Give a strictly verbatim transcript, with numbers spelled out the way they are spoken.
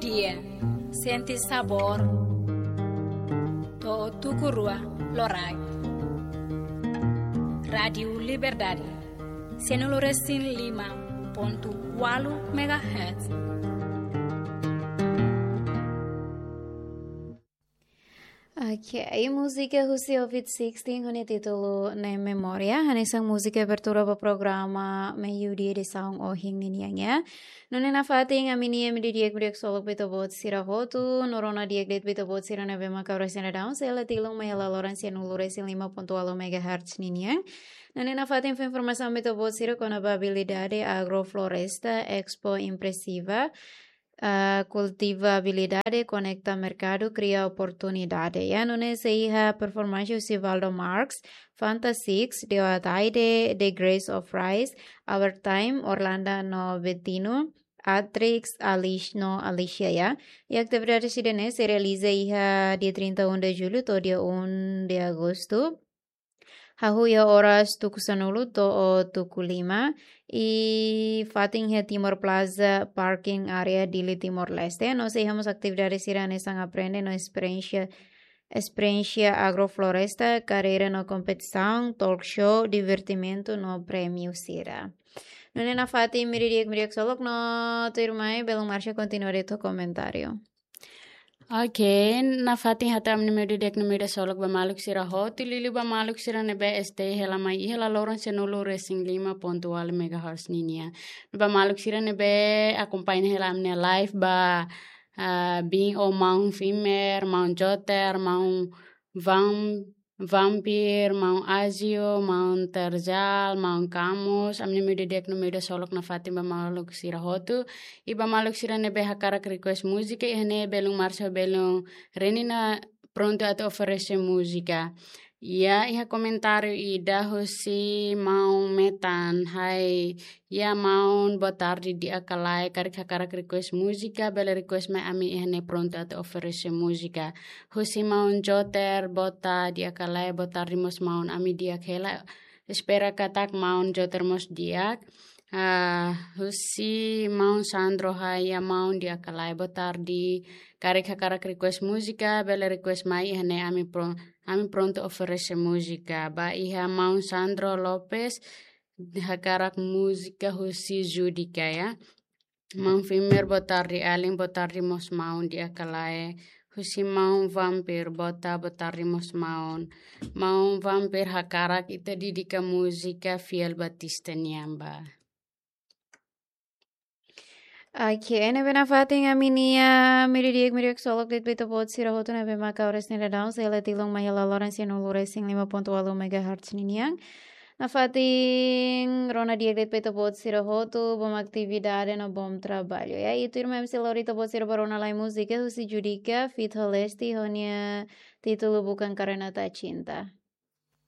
Dia, sente sabór. To'o tuku rua loraik. Rádiu Liberdade, sianulu resin lima pontu ualu megahertz. Ok, múzika husi Ovid Sixteen ho nia títulu Ne'e Memória, hanesan múzika abertura ba programa Meiudia edisaun ohin ninian, ya. Nune'e nafatin ami-nia imi di'ak, imi di'ak solok ba ita-boot sira hotu, no rona di'ak de'it ba ita-boot sira ne'ebé mak oras ne'e daudaun sei la tilun mai hela loron sianulu resin lima pontu ualu megahertz ninian. Nune'e nafatin fó informasaun ba ita-boot sira kona-ba abilidade agrofloresta, Expo Impressiva, ah, kultivabilidade, konekta merkadu, kria oportunidade. Ya, nune'e sei iha performance husi Valdo Marx, Fanta Six, Deo Ataide, The Grace of Rice, Our Time, Orlando no Bettino, Atrix, Alice no Alicia, ya. I atividade sira-ne'e sei realiza iha dia trinta e um de julho to'o dia um de agosto. Hahú iha oras tuku sanulu to'o tuku lima. I fatin iha Timor Plaza Parking Area, Dili, Timor-Leste. No sei iha mós atividade sira hanesan aprende no esperiénsia, esperiénsia agrofloresta, kadeira no kompetisaun, talk show, divertimentu no prémiu sira. Nune'e nafatin imi di'ak, imi di'ak solok no tuirmai belun Marsha kontinua de'it ho komentáriu. Ok, nafatin hato'o ami-nia imi di'ak, imi di'ak solok ba maluk sira hotu, liuliu ba maluk sira ne'ebé stay hela mai iha hela loron sianulu resin lima pontu ualu megahertz ninian. Ba maluk sira ne'ebé akompaña hela ami-nia live ba, ah, biin ho maun Fimer, maun Joter, maun Vam Vampir, maun Azio, maun Terjal, maun Camus, ami-nia imi di'ak, imi di'ak solok nafatin ba maluk sira hotu. I ba maluk sira ne'ebé hakarak request múzika, iha ne'e belun Marsha, belun Renina prontu atu oferese múzika. Ya, iha komentáriu ida husi maun Metan, hai, ya maun, boa tarde di'ak ka lae, karik hakarak request múzika, bele request mai, ami iha ne'e prontu atu oferese múzika. Husi maun Joter, boa tarde di'ak ka lae, boa tarde mós maun, ami di'ak hela. Espera katak maun Joter mós di'ak. Ah, husi maun Sandro, hai, ya maun, di'ak ka lae, boa tarde. Karik hakarak request múzika, bele request mai, iha ne'e ami pro-, ami prontu oferese múzika. Ba iha maun Sandro Lopes, hakarak múzika husi Judika, ya. Maun Fimer, boa tarde, alin, boa tarde mós maun, di'ak ka lae. Husi maun Vampir, boa ta-, boa tarde mós maun. Maun Vampir hakarak ita dedika múzika Fiel Batista nian ba. Ok, ne'ebé nafatin ami-nia imi di'ak, imi di'ak solok de'it ba ita-boot sira hotu ne'ebé maka oras ne'e daudaun sei la tilun mai hela loron sianulu resin lima pontu ualu megahertz ninian. Nafatin rona di'ak de'it ba ita-boot sira hotu, bom atividade no bom trabalho. Ya, i tuirmai ami sei lori ita-boot sira ba rona lai múzika husi Judika feat Holesti ho nia títulu Bukan Karena Tak Cinta.